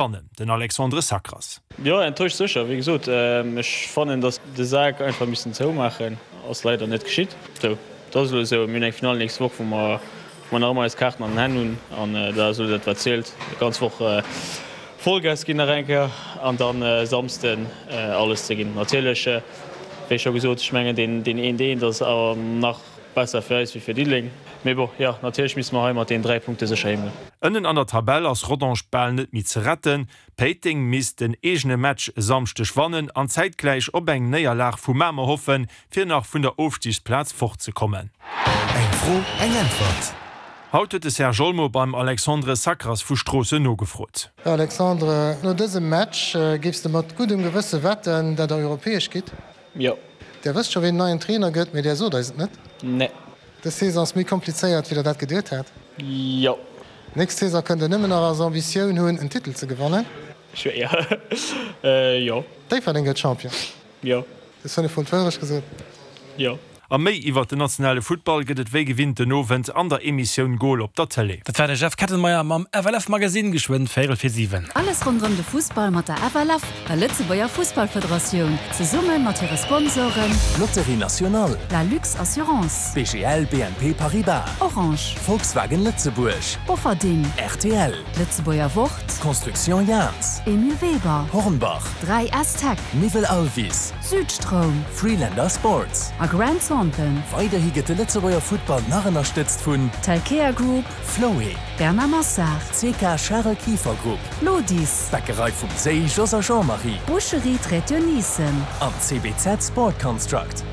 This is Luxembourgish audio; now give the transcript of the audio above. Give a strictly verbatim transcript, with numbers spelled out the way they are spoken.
Wannen, den Alexandre Sacras. Jo, enttäuscht sécher. Wéi gesot, ech fannen, datt de Sak einfach missen zoumaachen. Ass leider net geschitt. Sou, et ass elo esou. Mir hunn eng Finall nächst Woch, wou mer wou mer nach ëmmer eis Kaarten an den Hänn hunn an dat ass elo dat wat zielt. Ganz Woch Vollgas ginn nach eng Kéier an dann e Samsden alles ze ginn. Natierlech, wéi scho gesot, ech mengen deen deen eent eent ass awer nach besser fir eis wéi fir Diddeleng. Mee bon, jo, natierlech misste mer hei mat deenen dräi Punkte sécher heem goen. Ënnen an der Tabell ass Rodange bal net méi ze retten. Péiteng misst den eegene Match e Samschdeg wannen an zäitgläich op eng Néierlag vu Mamer hoffen, fir nach vun der Ofstigsplaz fortzekommen. Eng Fro, eng Äntwert. Haut huet de Serge Olmo beim Alexandre Sacras vu Stroossen nogefrot. Alexandre, no dësem Match, géifs de mat guddem Gewësse wetten, dat der europäesch gitt? Jo. Der wësst scho ween neien Trainer gëtt, mee där sot eis et net? Nee. Dës Saison ass méi komplizéiert wéi der dat geduet hat? Jo. Nächst Saison kënnt der nëmmen nach als Ambitioun hunn en Titel ze gewannen? Schwéier. Jo. Déifferdeng gëtt Champion? Jo. Hues fënnef mol d'Wourecht gesot? Jo. A méi iwwert den nationale Futtball gëtt et wéi gewinnt den Owend an der Emissioun Goal op der Tëlee. Dat war de Jeff Kettenmeyer mam F L F Magazine, geschwënn véierel vir siwen. Alles ronderëm de Fussball mat der F L F, der Lëtzebuerger Fussballfederatioun, zesumme mat hire Sponsoren. Loterie Nationale. La Lux Assurance. B G L B N P Paribas. Orange. Volkswagen Lëtzebuerg. Bofferding. R T L. D'Lëtzebuerger Wort. Construction Jahns. Emile Weber. Hornbach. dräi S Tech. Miwwel Alvis. Südstroum. Freelander Sports. A Grant Thornton. Weiderhi gëtt de Lëtzebuerger Futtball nach ënnerstëtzt vun. Telkea Group. Floé. Bernard Massard. C K Charel Kieffer Group. Lodis. Bäckerei vum Séi, Jos a Jean-Marie. Boucherie Traiteur Nissen. An C B Z Sport Construct.